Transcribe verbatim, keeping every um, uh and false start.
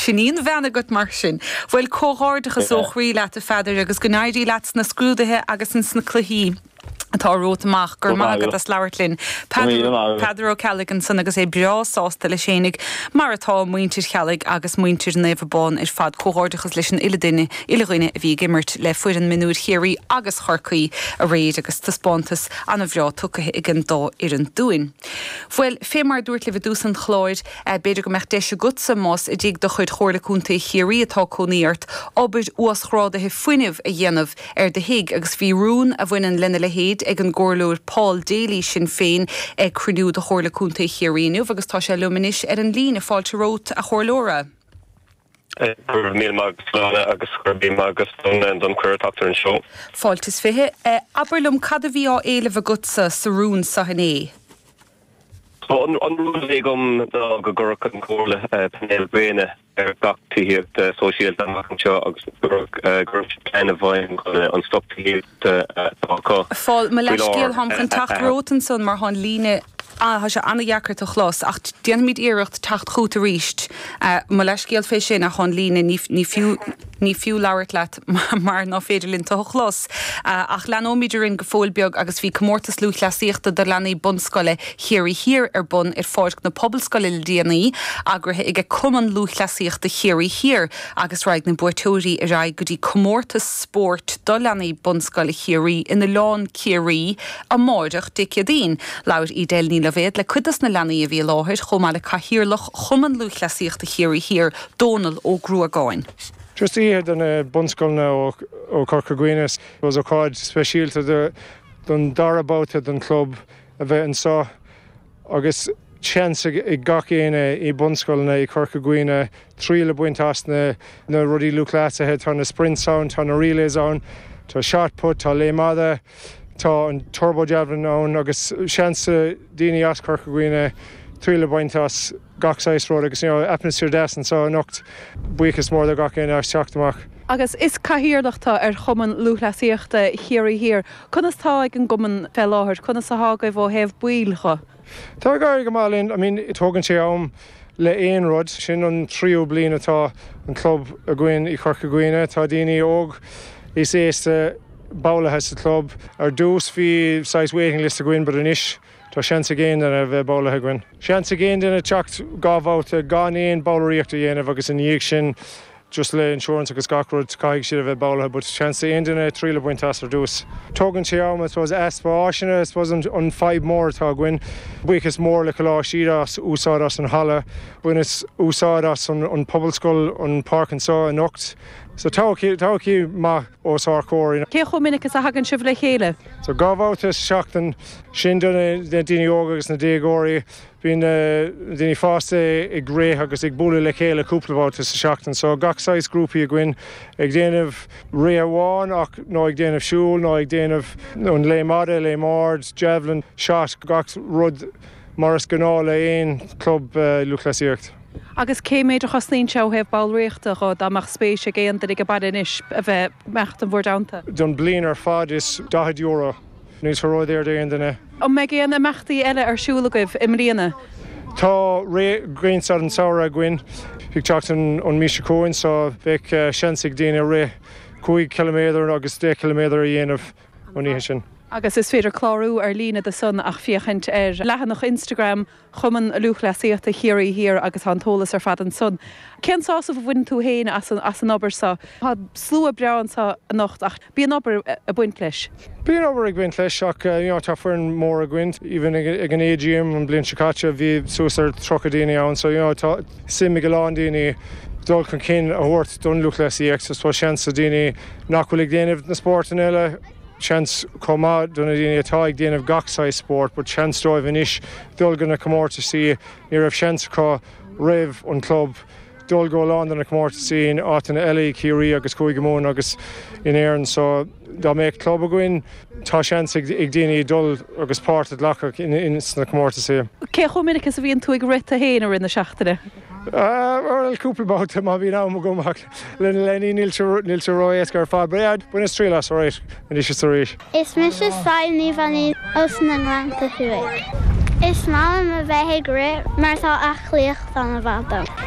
Sin í an bhean agat mar sin. Bhuel comhghairdeachas ó chroí leat a Pheadair agus go n-éirí leat sna scrúduithe agus sna cluichí. atá romhat amach gur maith agat as labhairt linn. Peadar Ó Ceallaigh ansan agus é breá sásta leis fhéinig mar atá muintir Cheallaigh agus muintir Naomh Abán ar fad comhghairdeachas leis an uile duine uile dhuine a bhí ag imirt le foireann mionúir Chiarraí agus Chorcaí aréir agus taispeántas an-bhreá tugtha ag an dá fhoireann dúinn. Bhuel fé mar dúirt libh i dtús an chláir eh, b'fhéidir go mbeadh deis agatsa más i dtigh de chuid Chomhairle Contae Chiarraí atá cónaí ort obair uasghrádaithe fuinnimh a dhéanamh ar do thigh agus bhí rún a bhaineann lena leithéid ag an gcomhairleoir Paul Daly Sinn Féin ag cruinniú de Chomhairle Contae Chiarraí inniu agus tá sé liom anois ar an líne fáilte romhat a chomhairleora. Gur mí agus lána agus gur bí agus don don chuirteachtar an seo. Fáilte is fiche eh, abair liom cad a bhí á éileamh agatsa sa rún seo inné. An rún a bhí agam ná go gcuirfeadh an chomhairle painéil gréine ar gach tithíocht sóisialta amach anseo agus gur plean i bhfeidhm chun an stoc tithíochta atá Fáil mo leithscéal táim chun teacht romhat ansan mar tá an líne Tá sé an-deacair tú a chlos ach déanfaimid iarracht teacht chugat arís. Mo leithscéal fé sin ach an líne ní fiú ní fiú labhairt leat mar nach féidir linn tú a chlos. Ach leanfaimid orainn go fóill beag agus bhí comórtas lúthchleasaíochta do leanaí bunscoile Chiarraí Thiar ar bun ar Pháirc na Pobalscoile le déanaí eagraithe ag Cumann Lúthchleasaíochta Chiarraí Thiar agus raghaidh na buaiteoirí ar aghaidh go dtí comórtas spóirt do leanaí bunscoile Chiarraí in Oileán Ciarraí amárach Dé Céadaoin. Labhair Edel Ní Loibhéad le cuid de na leanaí a bhí i láthair chomh maith le cathaoirleach Chumann Lúthchleasaíochta Chiarraí Thiar Dónal Ó Gruagáin. Just oíche do na bunscoileanna ó Chorca Dhuibhne was ócáid speisialta don dara babhta den club a bheith anseo agus seans ag gach éinne i bunscoileanna i Corca Dhuibhne triail a bhaint as na na rudaí lúthchleasaithe tá na sprints ann tá na relays ann tá shot put tá léim fhada tá an turbo javelin ann agus seans daoine as Corca Dhuibhne triail a bhaint as gach saghas rud agus you know, atmaisféar deas anseo anocht buíochas mór do gach éinne as teacht amach. Agus is cathaoirleach tú ar Chumann Lúthchleasaíochta Chiarraí Thiar. Conas tá ag an gcumann fé láthair, conas atá agaibh ó thaobh baill de. Tá gáir go maith I mean tógann sé am le aon rud sin an tríú bliain atá an club againn i Corca Dhuibhne tá daoine óg is aosta ballaithe sa club ar dtús bhí saghas waiting list againn but anois Tá seans ag aon duine a bheith ballaithe againn. Seans ag aon duine teacht dhá bhabhta gan aon bhallraíocht a dhéanamh agus ina dhiaidh sin just le insurance agus gach rud caithfidh siad a bheith ballaithe, but seans aon duine triail a bhaint as ar dtús. Tógann sé am suppose easpa áiseanna suppose an, an fadhb mór atá againn. Buíochas mór le Coláiste Íde as úsáid as an halla, baineadh úsáid as an, an pobalscoil an páirc anseo anocht. So tá maith os ár gcomhair. Cé chomh minic is a thagann sibh le chéile? So dhá bhabhta sa tseachtain sin do na daoine óga agus na déagóirí bíonn daoine fásta ag rith agus ag bualadh le chéile cúpla babhta sa seachtain, so gach saghas grúpaí againn ag déanamh rith amháin ach nó ag déanamh siúl nó ag déanamh an léim fhada, léim ard, javelin, shot gach rud mar is gnáth le aon club uh, lúthchleasaíocht. Agus cé méid a chosnaíonn sé ó thaobh ballraíochta dho dá mbeadh spéis ag aon duine ag baile anois a bheith mecht an bhordanta. Don bliain ar fad is daichead euro níl sé ródhaor d'aon duine. An mbeidh aon imeachtaí eile ar siúl agaibh i mbliana. Tá rith Grianstad an tsamhraidh againn ag teacht an an mí seo chugainn so bheadh uh, seans ag daoine rith cúig kilometer agus deich kilometer a dhéanamh an oíche sin. Agus is féidir clárú ar líne do san ach féachaint ar leathanach Instagram Chumann Lúthchleasaíochta Chiarraí Thiar agus an t-eolas ar fad ansan. Cén sásamh a bhaineann tú féin as an, as an obair seo Tá slua breá anseo anocht ach bíonn obair ag baint leis. Bíonn obair ag baint leis ach uh, you know, tá foireann mór againn, even ag, ag an AGM an bliain seo caite bhí suas ar tríocha daoine ann, so you know, tá suim ag a lán daoine dul chun cinn a thabhairt don lúthchleasaíocht so seans do daoine nach bhfuil ag déanamh na spórtanna eile seans chomh maith do na daoine atá ag déanamh gach saghas spórt, but seans dóibh anois dul go na comórtaisí ní raibh seans acu roimh an club dul go lán na comórtaisí in áiteanna eile Ciarraí agus Cúige Mumhan agus in Éirinn so dá mbeadh club againn tá seans ag, ag daoine dul agus páirt a ghlacadh in, in sna comórtaisí. Cé chomh minic is a bhíonn tú ag rith féin i rith na seachtaine? Uh, cúpla babhta má bhíonn am agam le leanaí níl sé ró-éasca ar fad, bainim triail as arís anois is arís. Is mise Saí Bhaní os na nGleannta Thuaidh. Is maith liom a bheith ag rith mar tá aclaíocht an-mhaith dom.